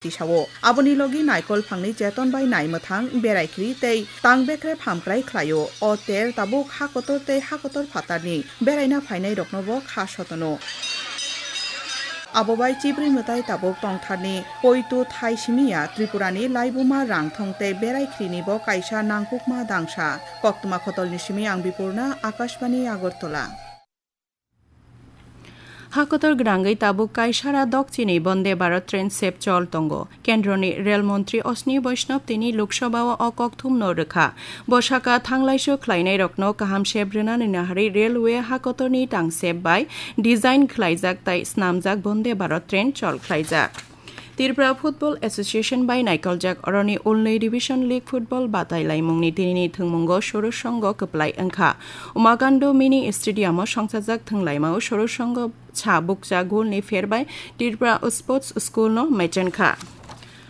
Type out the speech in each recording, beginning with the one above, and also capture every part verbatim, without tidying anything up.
Tisao. Aboni logi naikol phangni cheton bai nai mwthang berai khri tei tang bekre phamkrai khlaio. O ter tabuk ha kotor tei ha kotor phatarni beraina phainai rokno bo kha sotono. Abo bai chibri mwtai tabuk tongtharni poitu thai simiya Tripurani laibuma rang thong tei berai khrini bo kaisa nangkukma dangsa. Koktwma khotolni simi ang Bipurna, Akashbani Agartala. Hakotor gwnangwi tabuk kaisara dokchini Bonde Bharat train sep chol tongo. Kendroni rel montri Osni Vaishnav tini Lok Sabha-o o kokthumno rwkha. Bo saka thanglaisu khlainairokno kaham sep rwnani naharwi railway hakotorni tang sep bai design khlaijak tai snamjak Bonde Bharat train chol khlaijak. Tripura Football Association bai naikoljak oroni Ulnwi Division League Football batai laimungni tinini thwngmungo Sorosh Songho kwplai wngkha. Umakando Mini Stadium-o songchajak thwnglaimao Sorosh Songho cha bukcha golni pher bai Tripura Sports School-no mechenkha.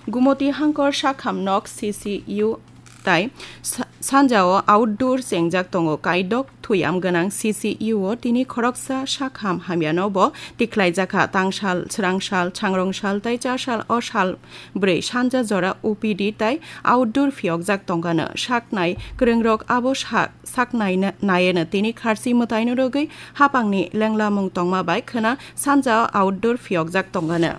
Gumoti Hangkor Sakham Nok C C U tai sa-, sanjao outdoor chengjak tongo. Kaidok thuyam gwnang C C U-o tini khoroksa sakham hamyano bo tikhlaijakha. Tangsal, swrangsal, changrongsal tai chasal o sal bwrwi sanja jora O P D tai outdoor phiyokjak tongkano. Saknai kwrwngrok abo sa-, saknai na-, nayeno tini kharchi mwtaino rwgwi hapangni lenglamung tongma bai khwna sanja outdoor phiyokjak tongkano.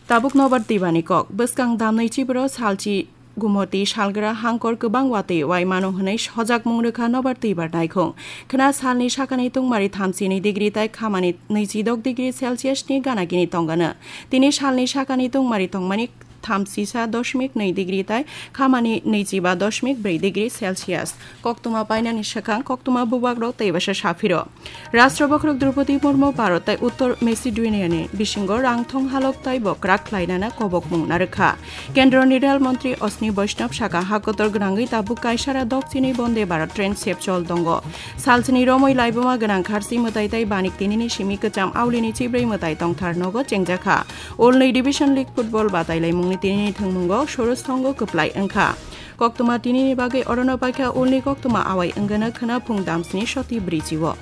Tabuk nobar twibani kok. Bwskang damnwi chibro salchi Gumoti salgra hangkor kwbang watwi wai mano hwnwi sojakmung rwkha nobar twibar naikhung. Khwna salni sakani tungmari thamsini degree tai khamani nwichidok degree Celsius ni ganagini tongano. Tini salni sakani tungmari tongmani thamsisa dosmik nwi degree tai khamani nwichiba dosmik brwi degree Celsius. Koktwma painani swkang koktwma bubagrok tei bwsa saphiro. Rashtra bokhorok Droupadi Murmu Bharat tai Uttor Macedonia ni bisingo rangthong halok tai bo kwrak khlainana kobokmung narwkha. Kendroni rel montri Osni Vaishnav saka hakotor gwnangwi tabuk kaisara dokchini Bonde Bharat train sep chol tongo. Salchini romwi laibuma gwnang kharchi mwtai tai banik tinini simi kwcham aulini chibrwi mwtai tongthar nogo chengjakha. Ulnwi Division League Football batai laimungni tinini thwngmungo Sorosh Songho kwplai wngkha. Koktwma tinini bagwi orono paikha Ulni koktwma awai wngano khwna phung damsni soti brichio.